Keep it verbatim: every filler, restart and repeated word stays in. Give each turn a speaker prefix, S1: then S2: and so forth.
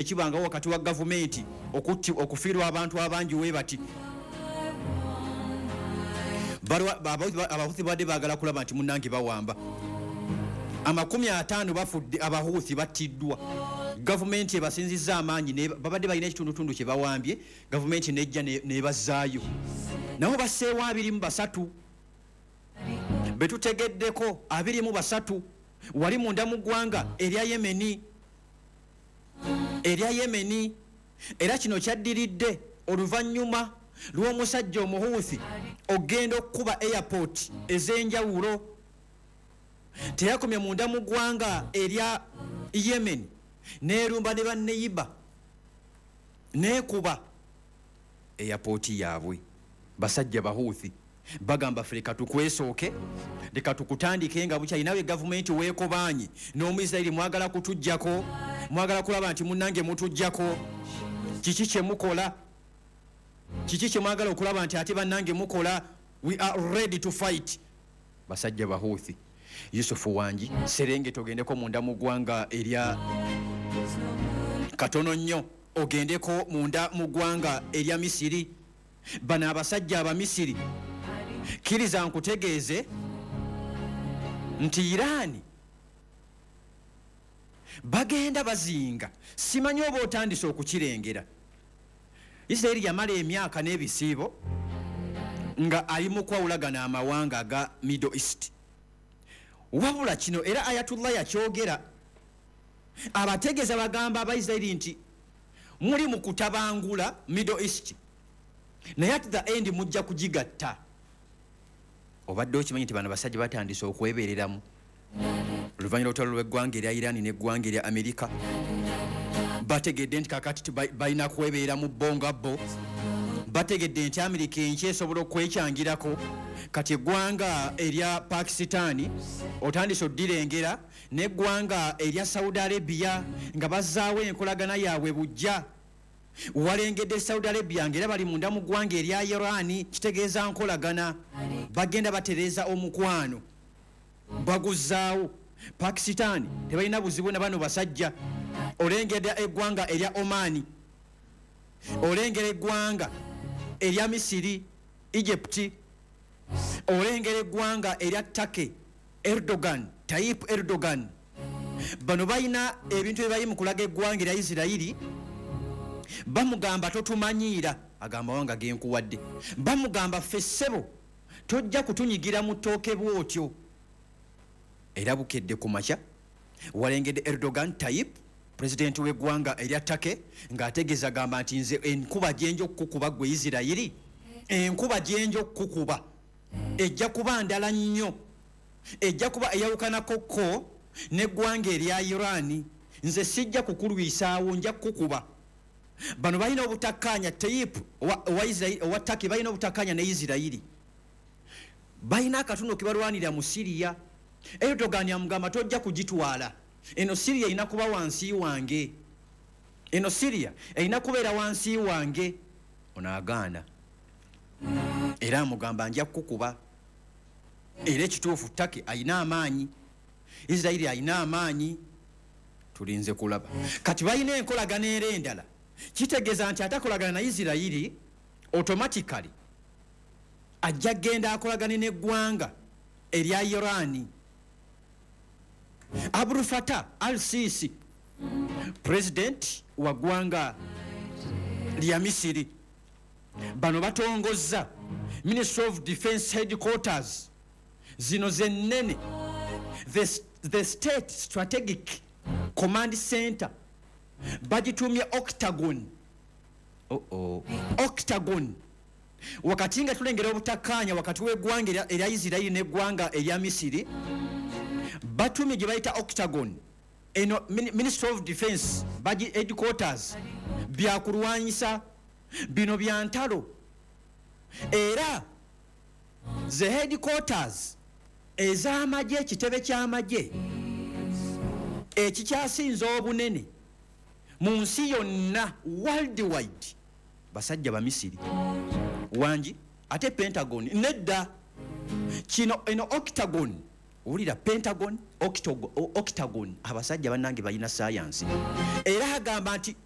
S1: Tekibangawo wakati wa gavumenti okufiirwa abantu abangi we bati. Abahuthi badde baagala kulaba nti munnange bawamba. Amakumi ataano bafudde, abahuthi battiddwa. Gavumenti ebasinzizza amaanyi. Babadde balina ekitundutundu kye bawambye, gavumenti nejja nebazaayo, nabo basseewo abiri mu basatu. Betutegeddeko abiri mu basatu wali munda mu ggwanga erya Yemeni, erya Yemeni. Era kino kyaddiridde oluvannyuma lw'omusajja omuhuuthi ogenda okukuba airport ez'enjawulo. Teyakomye munda mu ggwanga erya Yemen, nerumba ne banneyiba, nekuba airport yaabwe. Basajja bahuuthi bagamba, "Ffe leka tukwesooke, leka tukutandike nga bukyalinawe gavumenti weekobaanye n'Omuisirairi. Mwagala kutujjako, mwagala kulaba nti munnange mutujjako. Kiki kyemukola? Kiki kyemwagala okulaba nti ate bannange mukola? We are ready to fight." Basajja bahuuthi. Yusufu wangi serenge, togendeko munda mu ggwanga erya katono nnyo, ogendeko munda mu ggwanga erya Misiri. Bano abasajja Abamisiri, kkiriza nkutegeeze nti Iraani bagenda bazinga. Simanyi oba otandise okukirengera. Isirairi yamala emyaka n'ebisiibo nga ali mu kwawulagana amawanga aga Middle East. Wabula kino era Ayatullah yakyogera, abategeeza bagamba Abaisirairi nti muli mu kutabangula Middle East, naye at the end mujja kugigatta. Obadde okimanyi nti bano basajja batandise okwebereramu oluvannyuma lw'olutalo lw'eggwanga erya Iran n'eggwanga erya Amerika? Bategedde nti kakati balina kwebeera mu bo nga bo. Bategedde nti Amerika enkya esobola okwekyangirako. Kati eggwanga erya Pakisitaani otandise oddirengera, n'eggwanga erya Saudi Arabia nga bazzaawo enkolagana yaabwe bujja. Walengedde Saudi Arabia ngaera bali munda mu ggwanga erya Irani, kitegeeza nkolagana, bagenda batereeza omukwano, baguzaawo. Pakisitaani tebalina buzibu na bano basajja. Olengedde eggwanga erya Omaani, olengera eggwanga erya Misiri, Egypt, olengera eggwanga erya Turkey, Erdogan, Tayyip Erdogan. Bano balina ebintu byebali mu kulaga eggwanga erya Isirayiri. Bamugamba, "Totumanyiira," agamba wanga genkuwadde. Bamugamba, "Ffe ssebo tojja kutunyigira mu ttooke bwotyo." Era bukedde ku makya walengedde Erdogan Tayyip, pulezidenti w'eggwanga erya Turkey, ng'ategeeza gamba nti, "Nze enkuba gyenja okukukuba gwe Isirayiri, enkuba gyenja okukukuba ejja kuba ndala nnyo, ejja kuba eyawukanako ko n'eggwanga erya Irani. Nze sijja kukulwisaawo, nja kukukuba." Bano balina obutakkaanya. Tayyip owa Turkey balina obutakkaanya ne Isirayiri, balina akatono ke balwanira mu Siriya. Erdogan amugamba, "Tojja kugitwala eno Siriya, erina kuba wansi wange, eno Siriya erina kubeera wansi wange." Ono agaana era amugamba, "Nja kukukuba." Era ekituufu, Turkey ayina amaanyi, Isirairi ayina amaanyi, tulinze kulaba. Kati balina enkolagana era endala, kitegeeza nti atakolagana na Isirayiri automatically ajja genda akolagane n'eggwanga erya Irani. Abdul Fatah Al Sisi, president wa ggwanga lya Misiri, bano batongozza Ministry of Defense headquarters. Zino zennene, the, the State Strategic Command Center, bagitumye Octagon. oh -oh. Octagon. Wakati nga tulengera obutakkaanya wakati w'eggwanga erya Isirayiri n'eggwanga erya Misiri, batumye gye bayita Octagon. Eno Ministry of Defense bagi headquarters, byakulwanyisa bino bya ntalo. Era ze headquarters ez'amagye, ekitebe ky'amagye ekikyasinza obunene mu nsi yonna, worldwide. Basajja Bamisiri wangi. Ate Pentagon nedda, kino eno Octagon. Owulira pentagon, octagon, abasajja bannange balina sayansi. Era agamba nti